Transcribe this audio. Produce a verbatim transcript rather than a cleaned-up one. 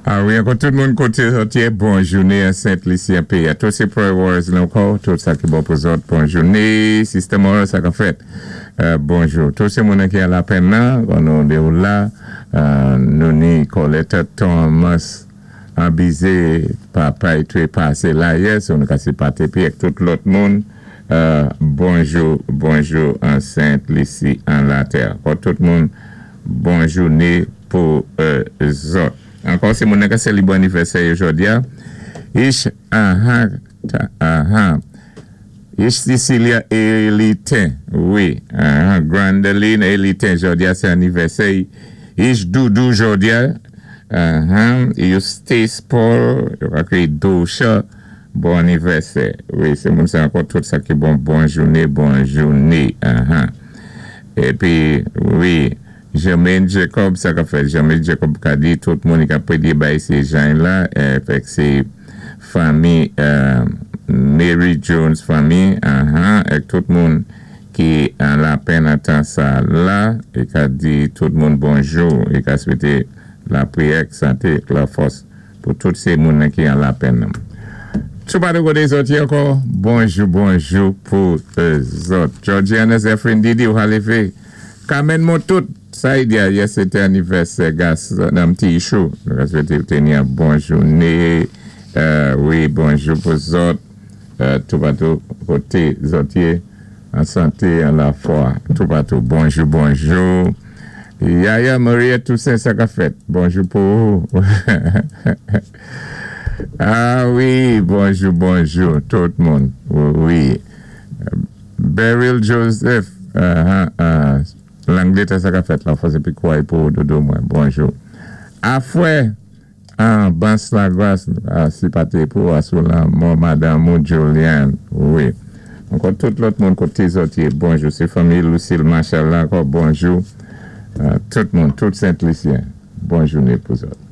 Ah wi, ankò tout moun koté zòt yé, bon jouné an Sent Lisi an péyi. Tout sé Prayer Warriors la ankò, tout sa ki bon pou zòt, bon jouné. Sister Moral, sa ka fèt. Euh, bonjou. Tout sé moun ki an lapenn nan, nou di ou la, euh, nou ni Coletta Thomas, an bizé, papa i té pasé la yè, so nou ka sé pati pi ak tout lòt moun. Euh, bonjou, bonjou an Sent Lisi an latè. Ankò tout moun, bon jouné pou euh, zòt. Ankò sé moun ka sélibré anivèsè jòdi a. Ish, aha, ta, aha. Ish Cecilia Elitin, wi, aha, Grandeline Elitin, jòdi a sé anivèsè. Ish Doudou jòdi a, aha, Eustace Paul, yo ka kwi Dosha, bon anivèsè. Wi, sé moun sa ankò tout sa ki bon, bon jouné, bon jouné, aha. Épi, wi, Jermaine Jacob, sa ka fèt, Jermaine Jacob ka di tout moun ka prédyé bay sé jan la, eh, fèk sé fanmi euh, Mary Jones fanmi, aha, ek tout moun ki an lapenn an tan sa la, é ka di tout moun bonjou, é ka swété lapriyè, santé, la fòs pou tout sé moun ki an lapenn. Tout pa de koté zòt ankò, bonjou, bonjou pou euh, zòt. Georgiana Zephyrin Didi ou levé. Carmen Motout, sa y di yè sé té anivèsè gas nan ti chou. Nou ka swété teni yon bon jouné. Euh, wi, bonjou pou zòt. Euh, tout patou koté zòt yé an santé, an lafwa. Tout patou. Bonjou, bonjou. Yaya Maria Toussaint, sa ka fèt. Bonjou pou ou. Ah wi, bonjou, bonjou, tout moun. Wi. Beryl Joseph, uh, uh, Langletè sa ka fèt la, fòs épi kway pou dodo mwen. Bonjou. Afwè, ah, Bans la gras, ah, si pa té pou asou la, mò madame ou Julian, wi. Ankò tout lòt moun koté zòt yé, bonjou. Sé fanmi Lucille Marshall la, ankò bonjou. Uh, tout moun, tout Sent-Lisyen, bon jouné pou zòt.